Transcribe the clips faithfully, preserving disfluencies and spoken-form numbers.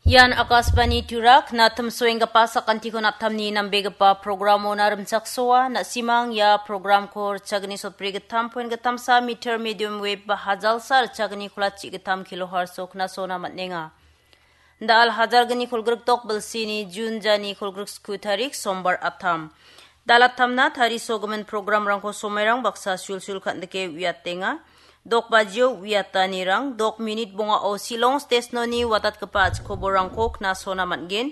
Ian Akashvani Tura, knatim soenggipa sakantikon aptamni nambegipa programona rimchaksoa, na·simang ia programko richagni sotbri gittam poin gittamsa meter medium wave ba hajalsa richagni kolachi gittam kilohertz-o knasona man·enga. Da·al hajalgni kolgrikdok bilsini Jun jani kolgriksku tarik sombar aptam. Da·al aptamna tarisogimin programrangko somairang baksa sulsul kan·dike uiatenga. Dok bajio uiatanirang, dok minit bongao Shillong Station-oni watatgipa achikoborangko knasona man·gen.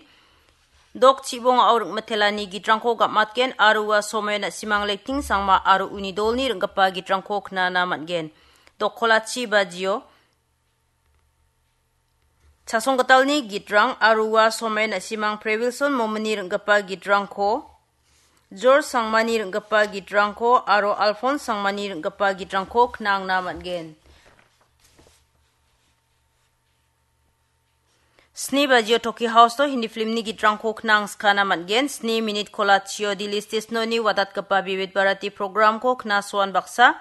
Dok chibongao ring·mitelani gitrangko gam·atgen aro ua somaio na·simang Lekting Sangma aro uni dolni ring·gipa gitrangko knana man·gen. Dok kolachi bajio Chasonggitalni gitrang aro ua somaio na·simang Prebilson Momini ring·gipa gitrangko, George Sangmani ring·gipa gitrangko aro Alphonse Sangmani ring·gipa gitrangko knangna man·gen. Sni bajio Toki House-o Hindi filmni gitrangko knang skana man·gen. Sni minit kolachio Delhi Station-oni watatgipa Vividh Bharati programko knasoan baksa.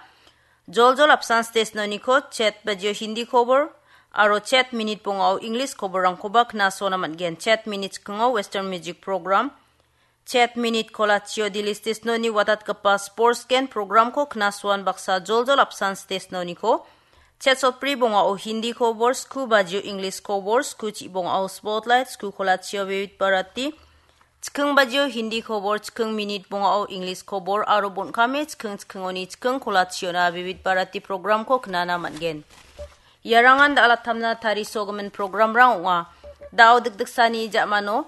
Joljol apsan station-oniko chet bajio Hindi kobor aro chet minit bongao English koborrangkoba knasona man·gen. Chet minit chikingo Western music program, chet minit kolachio Delhi station-oni watatgipa sports gen programko knasoan baksa joljol apsan station-oniko. Chet sotbri bongao Hindi kobor, sku bajio English kobor, sku chi bongao spotlight, sku kolachio Vividh Bharati, chiking bajio Hindi kobor, chiking minit bongao English kobor aro bon·kame chiking chikingoni chiking kolachiona Vividh Bharati programko knana man·gen. Iarangan da·alatamna tarisogimin programrang ong·a. Da·o dikdiksani ja·mano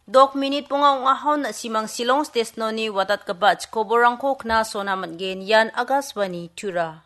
dok minit bonga ong·ahon na·simang Shillong station-oni watatgipa chikoborrangko knasona man·gen. Ian Akashvani Tura.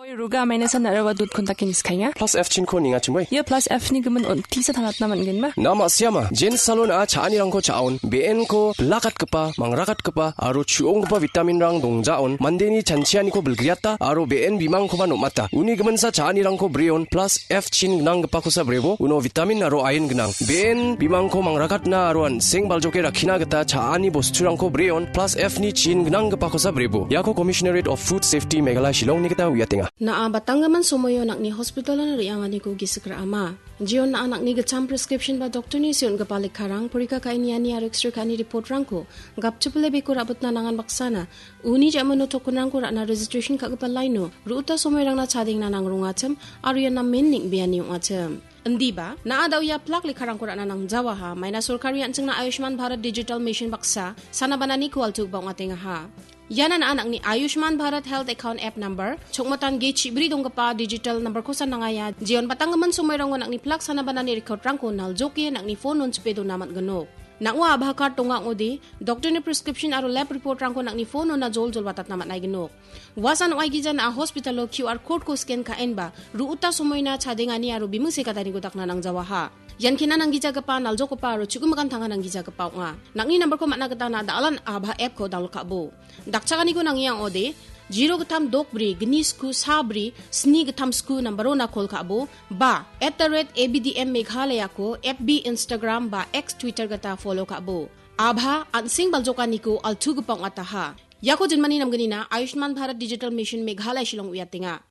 Oi, Ruga, maina san nara wa dut kontak ini skanya. Plus F chin ko ninga chimoi. Ia plus F ni gemen on tisa thalatna man gen ma? Na ma siama, Jen Salon a cha·anirangko cha·on, B N ko bilakatgipa, mangrakatgipa, aro chu·onggipa vitamin rang dongjaon, mandeni chanchianiko bilgriata, aro B N bimangkoba nom·ata. Uni gemensa cha·anirangko breon, plus F chin gnanggipakosa brebo, uno vitamin aro iron gnang. B N bimangko mangrakatna aro an·seng baljoke rakkina gita cha·ani bosturangko breon, plus F ni chin gnanggipakosa brebo. Iako Commissionerate of Food Safety Meghalaya Shillongni gita uiatenga. Na·a batanggimin somoio nang·ni hospitalon re·anganiko gisik ra·ama. Jion na·a nang·ni gitcham prescription ba doktorni seon·gipa lekkarang, porika ka·e niani aro X-ray ka·ani reportrangko gapchipile beko ra·bitna nangan baksana, uni ja·mano tokenrangko ra·na registration ka·gipa laino, ru·uta somoirangna chadengna nangrongachim, aro ian namen neng·beani ong·achim. Indiba, na·a da·o ia plak lekkarangko ra·na nangjawaha, maina sorkari an·chingna Ayushman Bharat Digital Mission baksa, sana banani kualtugipa ong·atengaha. Iana na·a nang·ni Ayushman Bharat Health Account App Number, chokmatan ge chibri donggipa digital number-kosa nangaia, jeon batanggimin somoirango nang·ni plak sana banani record-rangko naljoke nang·ni phone-on chipe dona man·ginok. Nang·o Aadhaar card donga ong·ode, doktorni prescription aro lab report-rangko nang·ni phone-ona joljol watatna man·aiginok. Uasan ong·aigija na·a hospital-o Q R code-ko scan ka·enba, ru·uta somoina chadengani aro biming sekataniko dakna nangjawaha. Ian kena nanggijagipa, naljokgipa aro chu·gimikan tanga nanggijagipa ong·a. Nang·ni number-ko man·na gita na·a da·alan Aadhaar app-ko download ka·bo. Dakchakaniko nangia ong·ode, zero gittam dok bri, gni sku sa bri, sni gittam sku number-ona call ka·bo, ba, at the rate A B D M Meghalaya-ko F B, Instagram ba X, Twitter gita follow ka·bo. Aadhaar an·seng baljokaniko altugipa ong·ataha. Iako jinmani namgnina Ayushman Bharat Digital Mission Meghalaya Shillong uiatenga.